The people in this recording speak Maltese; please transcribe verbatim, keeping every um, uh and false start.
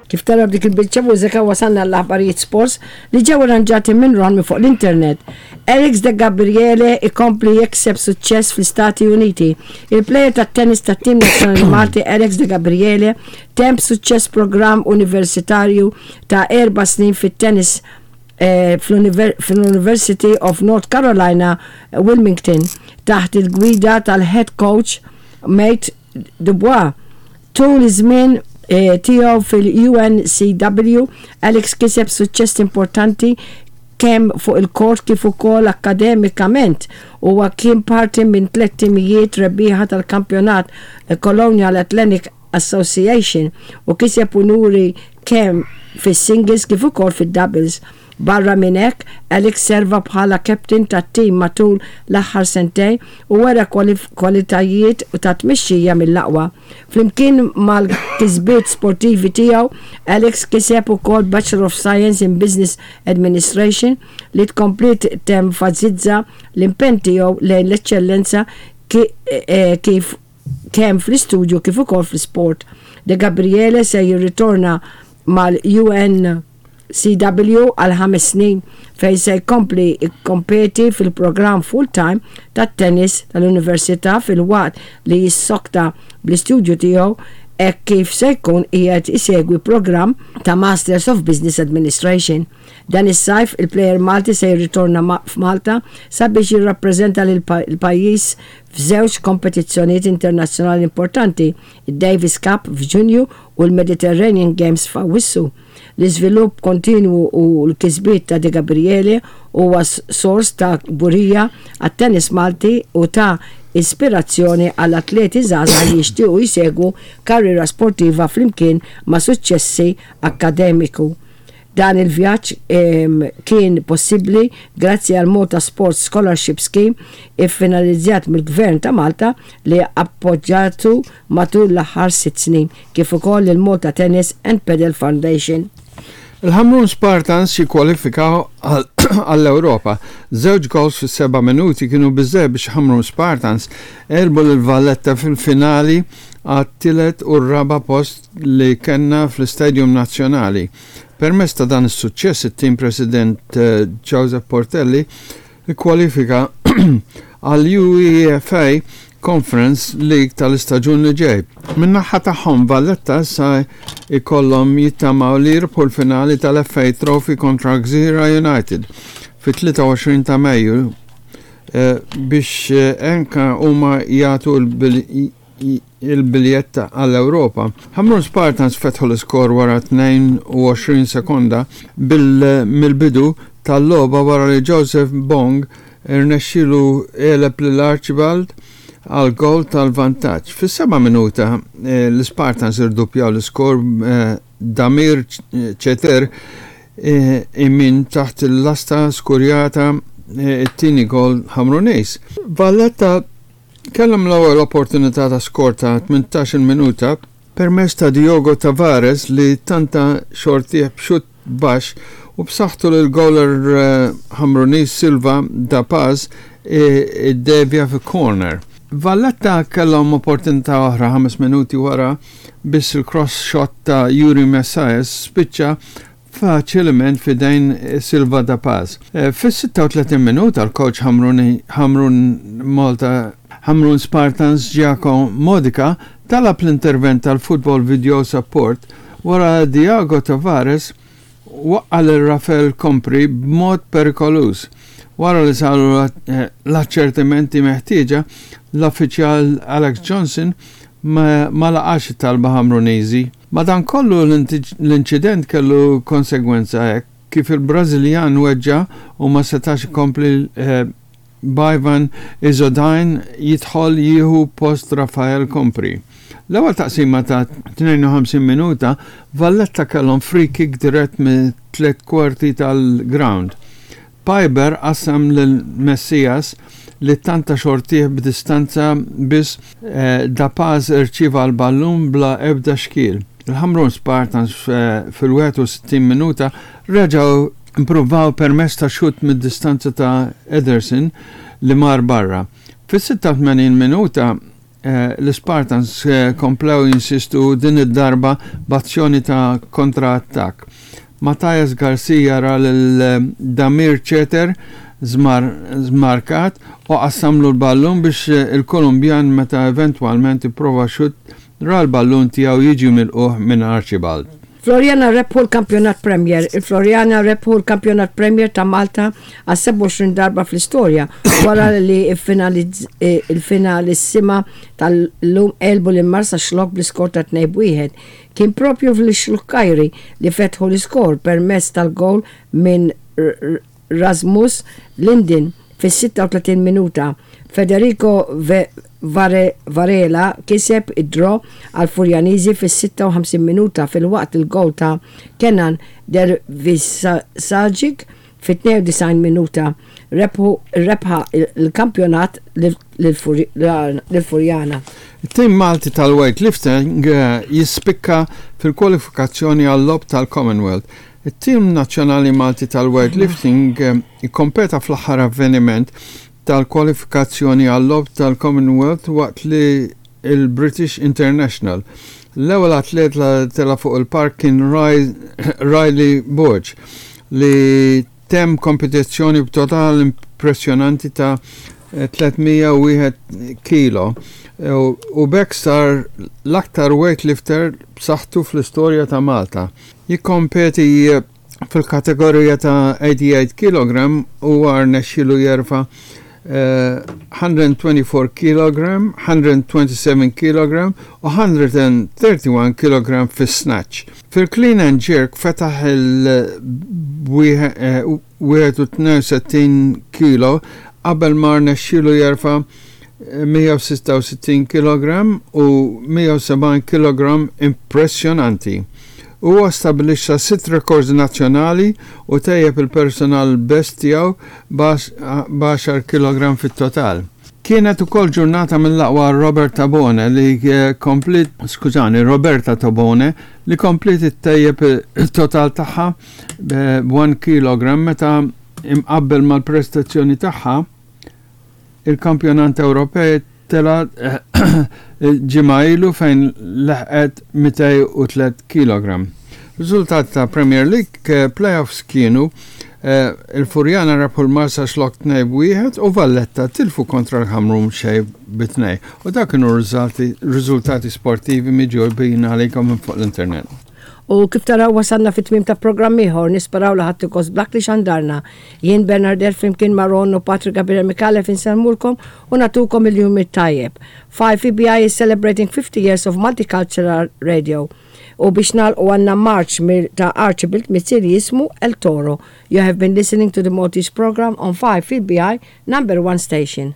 Kif tara b'dik il-biċċa mużika, wasalna l-aħbarijiet sports li ġew arranġati minn Ron minn fuq l-internet. Alex De Gabriele ikompli jikseb suċċess fl-Istati Uniti. Il-player tat-tennis tat-tim nazzjonali Malti Alex De Gabriele temm b'suċċess programm universitarju ta' erba' snin fit-tennis eh, fl-University of North Carolina, Wilmington, taħt il-gwida tal-head coach Matt Dubois. Tul iż-żmien eh, tiegħu fil-U N C W, Alex kiseb suċċess importanti kemm fuq il-kort kif ukoll akademikament. Huwa kien parti minn tliet timijiet rebbieħa tal-kampjonat Colonial Athletic Association u kiseb unuri kemm fis-singles kif ukoll fid-doubles. Barra minn hekk, Alex serva bħala captain tat-tim matul l-aħħar sentejn u wera kwalitajiet u ta' tmexxija mill-aqwa. Flimkien mal-kisbiet sportivi tiegħu, Alex kiseb ukoll Bachelor of Science in Business Administration, li tkompli tenfasizza l-impenn tiegħu lejn l-eċċellenza eh, kif kemm fl-istudju kif ukoll fl-sport. De Gabriele se jirritorna mal-U N C W għal ħames snin, fejn se jkompli jikkompeti fil-programm full-time tat-tennis tal-Università filwaqt li jissokta bl-istudju tiegħu, hekk kif se jkun qiegħed isegwi programm ta' Masters of Business Administration. Dan is-sajf il-plejer Malti se jirritorna f'Malta sabiex jirrappreżenta lil pajjiż f'żewġ kompetizzjonijiet internazzjonali importanti, id-Davis Cup f'Ġunju u l-Mediterranean Games f'Awwissu. L-iżvilupp kontinwu u l-kisbiet ta' De Gabriele huwa sors ta' kburija għat-tennis Malti u ta' ispirazzjoni għall atleti żgħażagħ li jixtiequ jsegwu karriera sportiva flimkien ma' suċċessi akademiku. Dan il-vjaġġ kien possibbli grazzi għal Malta Sports Scholarship Scheme, iffinalizzat mill-Gvern ta' Malta, li appoġġjatu matul l-aħħar sitt snin, kif ukoll il-Malta Tennis and Padel Foundation. Il-Ħamrun Spartans jikkwalifikaw għall-Ewropa. Żewġ goals fis seba' minuti kienu biżżejjed biex Ħamrun Spartans għelbu l-Valletta fil-finali għat-tielet u r-raba post li kellna fl-Istadium Nazzjonali. Permezz ta' dan is-suċċess, it-tim President eh, Joseph Portelli ikkwalifika għal UEFA Conference League tal-istaġun li ġej. Min-naħa tagħhom, Valletta sa ikollhom jittamaw li jirbħu l-finali tal-F A Trophy kontra Gżira United fit-tlieta u għoxrin ta' Mejju eh, biex eh, anka huma jagħtu il-biljetta għall-Ewropa. Ħamrun Spartans fetħu l-iskor wara tnejn u għoxrin sekonda mill-bidu tal-logħba, wara li Joseph Bong irnexxilu għeleb lil Archibald għal gol tal-vantaġġ. Fis-seba' minuta eh, l-Spartans irduppjaw l-iskor, eh, Damir Ceter eh, minn taħt il-lasta skurjata it-tieni gol Ħamruniż. Valletta kellhom l-ewwel opportunità ta' skor ta' tmintax-il minuta permezz ta' Diogo Tavares, li tanta xortih b'xut baxx u b'saħħtu lil goaler Ħamruniż Silva da Paz iddevja fi corner. Valletta kellhom opportunità oħra ħames minuti wara, biss il-cross shot ta' Yuri Messias spiċċa faċilment f'idejn Silva da Paz. E, Fis-sitta u tletin minuta l-coach Ħamrun Malta Ħamrun Spartans Giacomo Modica talab l-intervent tal-Football Video Support wara Diago Tavares waqqa lil Rafael Compri b'mod perikoluż. Wara li saru l-aċċertimenti meħtieġa, l-uffiċjal Alex Johnson ma, ma laqax it-talba Ħamruniżi. Madankollu, l-inċident kellu konsegwenza hekk kif il-Brażiljan weġġa u ma setax ikompli, eh, b'Ivan Izodajn jidħol jieħu post Rafael Compri. L-ewwel taqsima ta' tnejn u ħamsin minuta, Valletta kellhom free kick dirett minn tliet kwarti tal-ground. Piber qassam lil Messias li tanta xortih b'distanza, biss eh, Da Paz irċieva l-ballun bla ebda xkiel. Il-Ħamrun Spartans eh, fil-61 minuta reġgħu impruvaw permezz ta' xut mid-distanza ta' Ederson li mar barra. Fis-sitta u tmenin minuta eh, l-Spartans eh, komplew jinsistu, din id-darba b'azzjoni ta' kontra-attak. Matthias Garcia ra lil Damir Ceter zmarkat u qassamlu l-ballun biex il-Kolumbjan, meta eventwalment ipprova xut, ra l-ballun tiegħu jiġi milqugħ minn Archibald. Floriana rebħu l-kampjonat Premier. Il-Floriana rebħu l-kampjonat Premier ta' Malta għal sebgħa u għoxrin darba fl-istorja wara li il-finalissima tal-lum għelbu lil Marsaxlokk bl-iskor ta' tnejn wieħed. Kien propju fl-Xlukkajri li fetħu l-iskor permezz tal-gol minn Rasmus Linden fis-sitta u tletin minuta. Federico Varela kiseb id-draw għal Furjaniżi fis-sitta u ħamsin minuta, filwaqt il-gol ta' Kenan Dervisagic fit-tnejn u disgħin minuta rebħu il-kampjonat lil-Furjana. Il-tim Malti tal-weightlifting eh, jispikka fil-kwalifikazzjoni għal-logħob tal-Commonwealth. Il-tim nazzjonali Malti tal-weightlifting eh, ikkompeta fl-aħħar avveniment tal-kwalifikazzjoni għal-logħob tal-Commonwealth waqt li il-British International. L-ewwel atlet li tela fuq il-park kien Riley Borg, li tem kompetizzjoni b'total impressjonanti ta' tliet mija u wieħed kilo u b'hekk sar l-aktar weightlifter b'saħħtu fl-istorja ta' Malta. Jikkompeti fil-kategorija ta' tmienja u tmenin kilogramm u rnexxielu jerfa' mija u erbgħa u għoxrin kilogramm, mija u sbatax kilogramm u mija u wieħed u tletin kilogramm fis-snatch. Fil-clean and jerk fetaħ il-wieħed u tnejn u sittin kilo qabel ma rnexxielu jerfa' mija u sitta u sittin kilogramm u mija u sebgħin kilogramm impressjonanti. Huwa stabilixxa sitt rekords nazzjonali u tejjeb il-personal best tiegħu b'għaxar kilogramm fit-total. Kienet ukoll ġurnata mill-aqwa Robert Tabone li eh, komplit, skużani, Roberta Tabone, li komplit ittejjeb il-total tagħha b'wieħed kilogramm meta imqabbel mal-prestazzjoni tagħha il-kampjonat Ewropej tela ġimgħa ilu fejn leħqet mitejn u tliet kilogramm. Riżultat ta' Premier League eh, playoffs kienu eh, il-Furjana rebħu l-Marsaxlokk tnejn wieħed u Valletta tilfu kontra l-Ħamrun xejn bi tnejn. U dak kienu riżultati sportivi miġjubin għalikom minn fuq l-internet. U kif taraw, wasalna fit-tmim ta' programm ieħor, nisperaw li ħadtu gost b'dak li xandarna. Jien Bernardet flimkien ma' Ron u Patrick Gabriel Micallef insellmulkom u nagħtukom il-jum it-tajjeb. five E B I is celebrating fifty years of multicultural radio. U biex nagħlqu għandna march ta' Archibald Mizzi jismu El Toro. You have been listening to the Maltese program on five E B I, number one station.